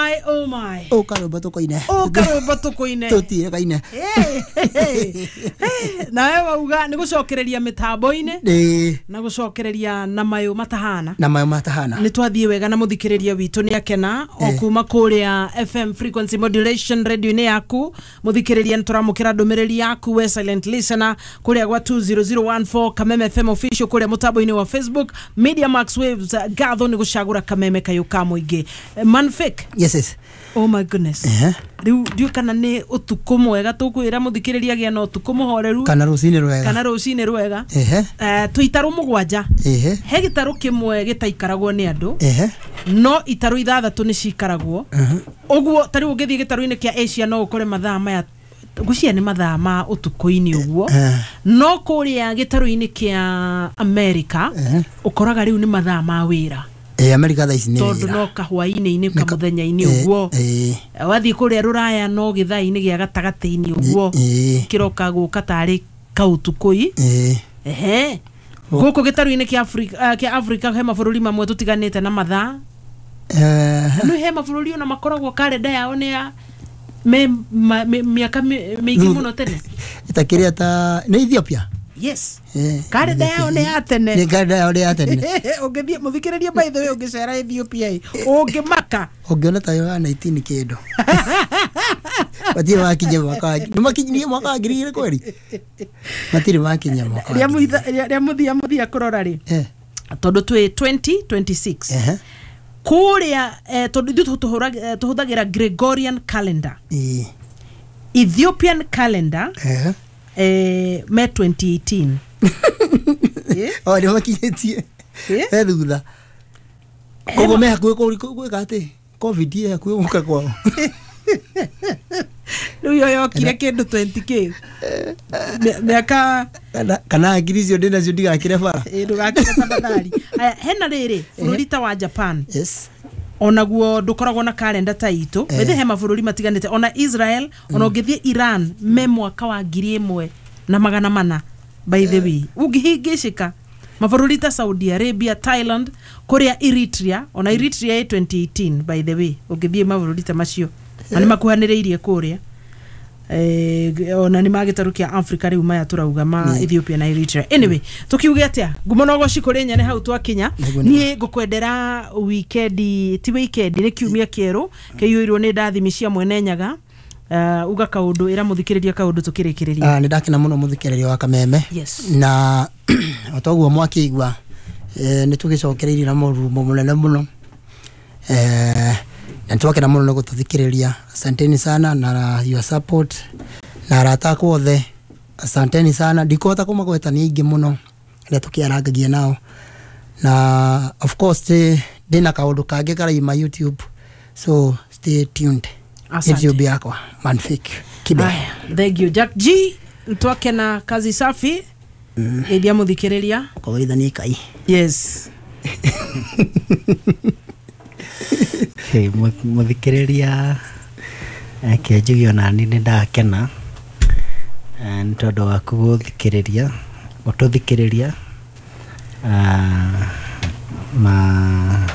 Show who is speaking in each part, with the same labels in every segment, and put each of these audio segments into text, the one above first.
Speaker 1: My oh my.
Speaker 2: Å karwĩmbo tũkoine.
Speaker 1: Å karwĩmbo tũkũine.
Speaker 2: Tũtire kaine.
Speaker 1: Nawe wauga nĩ gũcokereria mĩtambo-inĩ
Speaker 2: Ĩĩ.
Speaker 1: na gũcokereria na mayũ matahana.
Speaker 2: Na mayo matahana.
Speaker 1: Nĩ twathiĩ wega na mũthikĩrĩria witũ nĩ akena o kuma kũrĩa FM frequency modulation radio-inĩ yaku. Mũthikĩrĩria, nĩ tũramũkĩra ndũmĩrĩri yaku we silent listener kũrĩa gwa 20014 Kameme FM official kũrĩa mũtambo-inĩ wa Facebook. Media Max Waves, ngatho nĩ gũcagũra Kameme kayũ ka mũingĩ. Manfik.
Speaker 2: Yes.
Speaker 1: Oh my goodness. Rĩu ndiũ kana nĩ ũtukũ mwega tũkwĩra mũthikĩrĩria agĩa na ũtukũ mũhoreru
Speaker 2: Kana rũcinĩ rwega.
Speaker 1: Kana rũcinĩ rwega.
Speaker 2: Ehe.
Speaker 1: Twĩ itarũ 7.
Speaker 2: Ehe.
Speaker 1: He gĩtarũ kĩmwe gĩtaikaragwo nĩ andũ.
Speaker 2: Ehe.
Speaker 1: No itarũ 6 nĩ cikaragwo. Ũguo ta rĩu ũngĩthiĩ gĩtarũ-inĩ kĩa Asia no ũkore mathaa maya ngwĩciria nĩ mathaa ma ũtukũ-inĩ ũguo. No kũrĩa gĩtarũ-inĩ kĩa America ũkoraga rĩu nĩ mathaa ma wĩra.
Speaker 2: America thaa ici nĩ
Speaker 1: tondũ
Speaker 2: wĩra.
Speaker 1: No kahwainĩ-inĩ kamũthenya-inĩ ũguo. Wathiĩ kũrĩa rũraya no gĩthaa-inĩ gĩa gatagatĩ-inĩ ũguo. Kĩroka gũka tarĩ kaũtukũ-i. Ehe. Gũkũ gĩtarũ-inĩ kĩa Africa, kĩa Africa he mabũrũri mamwe tũtiganĩte na mathaa. No he mabũrũri ona makoragwo karenda yao nĩ ya mĩaka mĩingĩ mũno tene.
Speaker 2: Ĩtakĩrĩa ta nĩ Ethiopia.
Speaker 1: Yes. Karenda yao nĩ ya tene.
Speaker 2: Nĩ karenda yao nĩ ya tene.
Speaker 1: Ũngĩthiĩ mũthikĩrĩrie, by the way, ũngĩcera Ethiopia ĩ, ũngĩmaka.
Speaker 2: Ũngĩona ta yo ya 19 kĩndũ. Matirĩ makinya mwaka wa, nĩ makinyirie mwaka wa 2000 kweri? Matirĩ makinya mwaka wa
Speaker 1: Rĩa
Speaker 2: 2000.
Speaker 1: Rĩa mũthia kũrora rĩ, tondũ twĩ 2026.
Speaker 2: Ehe.
Speaker 1: Kũrĩa tondũ ithuĩ tũhũthagĩra Gregorian calendar.
Speaker 2: Ĩĩ.
Speaker 1: Ethiopian calendar
Speaker 2: Ehe.
Speaker 1: Me 2018.
Speaker 2: O nĩ makinyĩtie.
Speaker 1: Eh?
Speaker 2: He thutha. Koguo me hakuhĩ gwĩka atĩ COVID ĩ hakuhĩ gũka kwao.
Speaker 1: Rĩu yo yokire kĩndũ 20k mĩaka
Speaker 2: Kana ngiri icio ndĩnacio ndigakĩre bara.
Speaker 1: Ĩ, ndũgakĩre tafadhali. Aya, hena rĩrĩ bũrũri ta wa Japan.
Speaker 2: Yes.
Speaker 1: Onaguo ndũkoragwo na karenda ta itũ. Bethe he mabũrũri matiganĩte, ona Israel, ona ũngĩthiĩ Iran me mwaka wa 1400. By the way, ũngĩhĩngĩcĩka mabũrũri ta Saudi Arabia, Thailand, kũrĩa Eritrea, ona Eritrea ĩ 2018, by the way. Ũngĩthiĩ mabũrũri ta macio na nĩ makuhanĩrĩirie kũrĩa, ona nĩ magĩtarũ kĩa Africa rĩu maya tũrauga ma Ethiopia na Eritrea. Anyway, tukiuge atĩa, ngumo na ũgoci kũrĩ nyene hau twakinya.
Speaker 2: Nĩguo.
Speaker 1: Niĩ ngũkwendera wikendi, ti wikendi, nĩ kiumia kĩerũ kĩiyũirwo nĩ ndathimi cia mwene Nyaga. Uga kaũndũ, ĩra mũthikĩrĩria kaũndũ tũkĩrĩkĩrĩria.
Speaker 2: Nĩ ndakena mũno mũthikĩrĩria wa Kameme.
Speaker 1: Yes.
Speaker 2: Na o toguo mwakĩigua, nĩ tũgĩcokereirie na mũrumo mũnene mũno, na nĩ twakena mũno nĩ gũtũthikĩrĩria. Asanteni sana na your support, na arata akwa othe, asanteni sana. Ndikũhota kũmagweta nĩ aingĩ mũno arĩa tũkĩarangagia nao. Na of course ndĩna kaũndũ kangĩ karaima YouTube, so stay tuned.
Speaker 1: Asante.
Speaker 2: YouTube yakwa Manfik Kibe.
Speaker 1: Aya, thank you Jack G, twakena, kazi safi. Geithia mũthikĩrĩria.
Speaker 2: Kũgeithania kai.
Speaker 1: Yes.
Speaker 3: Hey, mũthikĩrĩria, kĩnjuge onani nĩ ndakena nĩ tondũ waku gũthikĩrĩria, gũtũthikĩrĩria. Na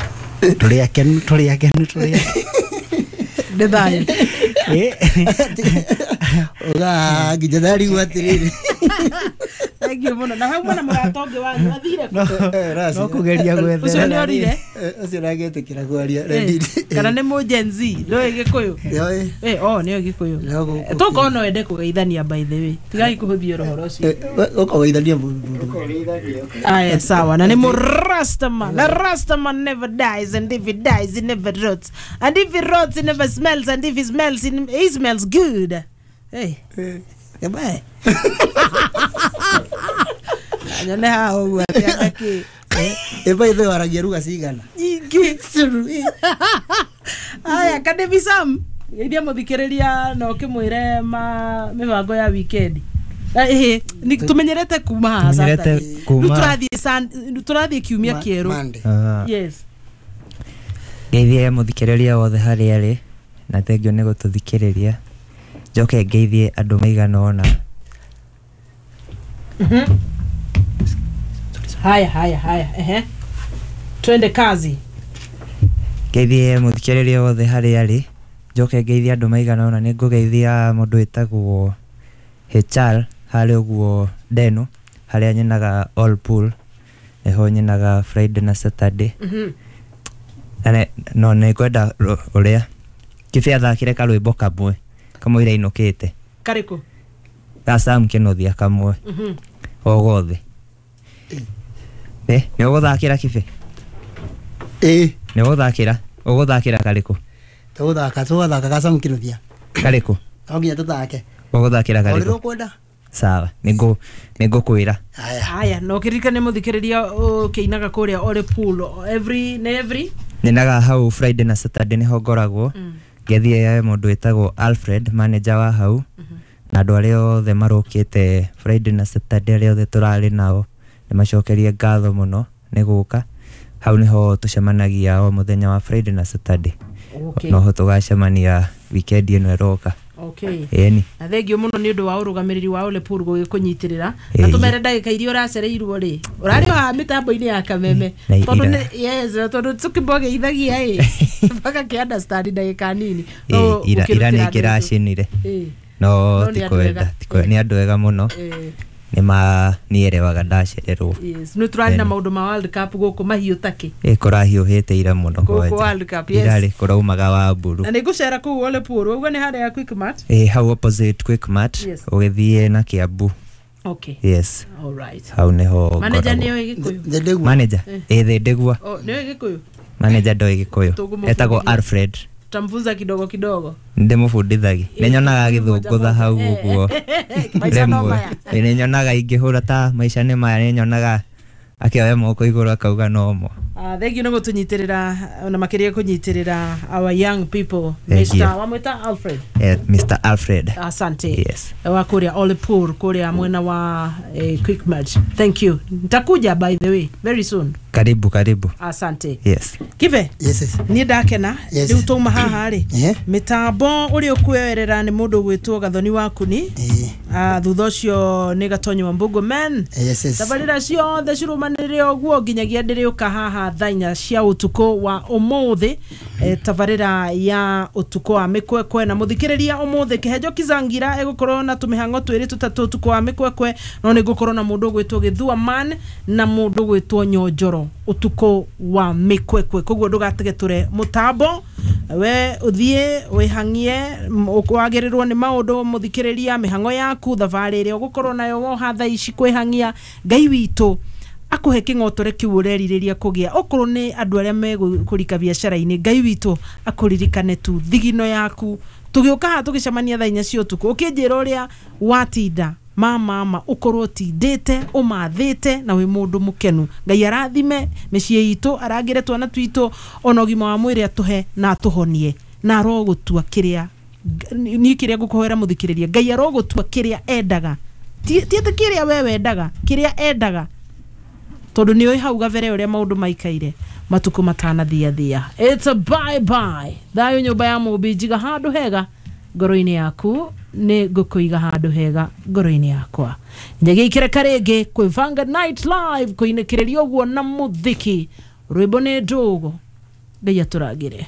Speaker 3: tũrĩ akenu, tũrĩ akenu, tũrĩ
Speaker 1: Nĩ thayũ.
Speaker 2: Uga nginya ndarigwo atĩrĩrĩ.
Speaker 1: Thank you mũno. Na hau mwena mũrata ũngĩ wanyu athire kũ?
Speaker 3: No kũgeria
Speaker 1: Ũcio
Speaker 3: gwethera.
Speaker 1: nĩ orire.
Speaker 2: Ũcio nagĩtĩkĩra kwaria.
Speaker 1: Kana nĩ mũ Gen Z nĩoĩ Gĩkũyũ?
Speaker 2: Nĩoĩ.
Speaker 1: Oh, nĩoĩ Gĩkũyũ.
Speaker 2: No, gũkũ-
Speaker 1: Tũkorwo no wende kũgeithania, by the way, tigai kũhũthia ũhoro ũcio.
Speaker 2: Ũkũgeithania mũndũ.
Speaker 1: Aya, sawa. Na nĩ mũ Rastaman. Na Rastaman never dies, and if he dies he never rots, and if he rots he never smells, and if he smells he smells good. Hey. Goodbye. Nyone haha ũguo atĩ anga
Speaker 2: Ĩba ithe waragia ruga cigana?
Speaker 1: Nyingĩ. Aya, Kadevi Sam, geithia mũthikĩrĩria na ũkĩmwĩre ma mĩbango ya weekend. Ĩhĩ, tũmenyerete kuma haha
Speaker 3: Tũmenyerete
Speaker 1: Saturday.
Speaker 3: kuma-
Speaker 1: Rĩu tũrathiĩ tũrathiĩ kiumia kĩerũ.
Speaker 2: Monday.
Speaker 1: Yes.
Speaker 4: Ngeithie mũthikĩrĩria wothe harĩa arĩ na thengiũ nĩ gũtũthikĩrĩria. Njoke ngeithie andũ maigana ũna.
Speaker 1: Haya, haya, haya, ehe, twende kazi.
Speaker 4: Ngeithie mũthikĩrĩria wothe harĩa arĩ, njoke ngeithie andũ maigana ũna. Nĩ ngũgeithia mũndũ wĩtagwo HR harĩa ũguo Ndenu, harĩa nyenaga all pool, nĩho nyenaga Friday na Saturday. Na no nĩ ngwenda ũrĩa Kĩbĩ athakire karwĩmbo kamwe kamũira inũkĩte.
Speaker 1: Karĩkũ?
Speaker 4: Ga Sam Kĩnuthia kamwe. O gothe. Nĩ ũgũthakĩra Kĩbĩ?
Speaker 2: Ĩĩ.
Speaker 4: Nĩ ũgũthakĩra? Ũgũthakĩra karĩkũ?
Speaker 2: Tũgũthaka ga Sam Kĩnuthia.
Speaker 4: Karĩkũ?
Speaker 2: No nginya tũthake.
Speaker 4: Ũgũthakĩra karĩkũ?
Speaker 2: Ũrĩa ũkwenda.
Speaker 4: Sawa, nĩngũkwĩra.
Speaker 1: Aya, no kĩririkane mũthikĩrĩria ũkĩinaga kũrĩa Ole Pool every na every
Speaker 4: nyenaga hau Friday na Saturday nĩho ngoragwo. Ngethie mũndũ wĩtagwo Alfred, manager wa hau, na andũ arĩa othe marũkĩte Friday na Saturday, arĩa othe tũrarĩ nao, nĩmacokerie ngatho mũno nĩ gũka. Hau nĩho tũcemanagia o mũthenya wa Friday na Saturday. Noho tũgacemania weekend ĩno ĩroka.
Speaker 1: Okay.
Speaker 4: Ĩni.
Speaker 1: Na thengio mũno nĩ ũndũ wa ũrũgamĩrĩri wa Ole Pool gũgĩkũnyitĩrĩra. Na tũmere ndagĩka iria ũracereirwo rĩ, ũrarĩ o haha mĩtambo-inĩ ya Kameme. Tondũ nĩ yes, tondũ tũkĩmbogeithagia ĩ mpaka kĩ understand ndagĩka nini.
Speaker 4: No ira nĩ kĩracinire. No tikwenda, nĩ andũ ega mũno. Nĩ ma nierewaga ndacererwo.
Speaker 1: Yes, nĩ tũrarĩ na maũndũ ma World Cup gũkũ mahiũ takĩ.
Speaker 4: Kũrahiũhĩte ira mũno
Speaker 1: gũkũ World Cup, yes.
Speaker 4: Irarĩ kũraumaga wa mburu.
Speaker 1: Na nĩ ngũcera kũu Ole Pool, ũguo nĩ harĩa Quickmart?
Speaker 4: Hau opposite Quickmart, ũgĩthiĩ na Kiambu.
Speaker 1: Okay.
Speaker 4: Yes.
Speaker 1: All right.
Speaker 4: Hau nĩho.
Speaker 1: Manager nĩoĩ Gĩkũyũ?
Speaker 4: Manager? Thĩndĩgua.
Speaker 1: Oh, nĩoĩ Gĩkũyũ?
Speaker 4: Manager ndoĩ Gĩkũyũ. Etagwo Alfred.
Speaker 1: Tutamfunza kidogo kidogo.
Speaker 4: Ndĩmũbundithagia. Nĩnyonaga agĩthũngũtha hau ũguo. Rĩmwe. Nĩnyonaga ingĩhũra ta maica nĩ maya, nĩnyonaga akĩoya moko igũrũ akauga nomo.
Speaker 1: Thengiũ nĩ gũtũnyitĩrĩra na makĩria kũnyitĩrĩra our young people. Mr. wamwĩta Alfred?
Speaker 4: Mr. Alfred.
Speaker 1: Asante.
Speaker 4: Yes.
Speaker 1: Wa kũrĩa Ole Pool, kũrĩa mwena wa Quickmart. Thank you. Nitakuja by the way very soon.
Speaker 4: Karibu, karibu.
Speaker 1: Asante.
Speaker 4: Yes.
Speaker 1: Kibe?
Speaker 2: Yes.
Speaker 1: Niĩ ndakena. Rĩu twauma haha rĩ, mĩtambo ũrĩa ũkuoerera nĩ mũndũ ũgwĩtwo Gathoni wa Kuni. Thutha ũcio nĩ Gatonyi wa Mbũngũ man.
Speaker 2: Yes.
Speaker 1: Tabarĩra ciothe cirumanĩrĩre ũguo nginyagia ndĩrĩũka haha thaa inya cia ũtukũ wa ũmũthĩ. Tabarĩra ya ũtukũ wa mĩkwekwe na mũthikĩrĩria ũmũthĩ Kĩhenjo Kizangira egũkorwo na tũmĩhang'o twĩrĩ tũtatũ ũtukũ wa mĩkwekwe, no nĩ ngũkorwo na mũndũ ũgwĩtwo Gĩthua man na mũndũ ũgwĩtwo Nyonjoro ũtukũ wa mĩkwekwe. Koguo ndũgatege tũre mũtambo, we ũthiĩ wĩhang'ie, wagĩrĩrwo nĩ maũndũ mũthikĩrĩria, mĩhang'o yaku, thabarĩ ĩrĩa ũgũkorwo nayo woha thaa ici kwĩhang'ia. Ngai witũ akũhe kĩng'otore kĩu ũrerirĩria kũgĩa. Okorwo nĩ andũ arĩa megũrika biacara-inĩ, Ngai witũ akũririkane tu thigino yaku. Tũgĩũka haha tũgĩcemania thaa inya cia ũtukũ, ũkĩnjĩra ũrĩa watinda mama ũkorwo ũtindĩte ũmathĩte na wĩ mũndũ mũkenu. Ngai arathime mĩciĩ itũ, arangĩre twana twitũ, ona ũgima wa mwĩrĩ atũhe na atũhonie, na arogũtua kĩrĩa niĩ kĩrĩa ngũkũhoera mũthikĩrĩria. Ngai arogũtua kĩrĩa endaga, ti atĩ kĩrĩa we wendaga, kĩrĩa endaga, tondũ nĩũĩ hau gabere ũrĩa maũndũ maikaire matukũ matanathiathia. It's a bye bye. Thayũ nyũmba ya Mũmbi, njiga handũ hega ngoro-inĩ yaku, nĩ ngũkũiga handũ hega ngoro-inĩ yakwa. Nyagia ikĩreka rĩngĩ kwĩ Vanguard Night Live kũinĩkĩrĩria ũguo na mũthiki. Rwĩmbo nĩ ndũgũ. Ngai atũrangĩre.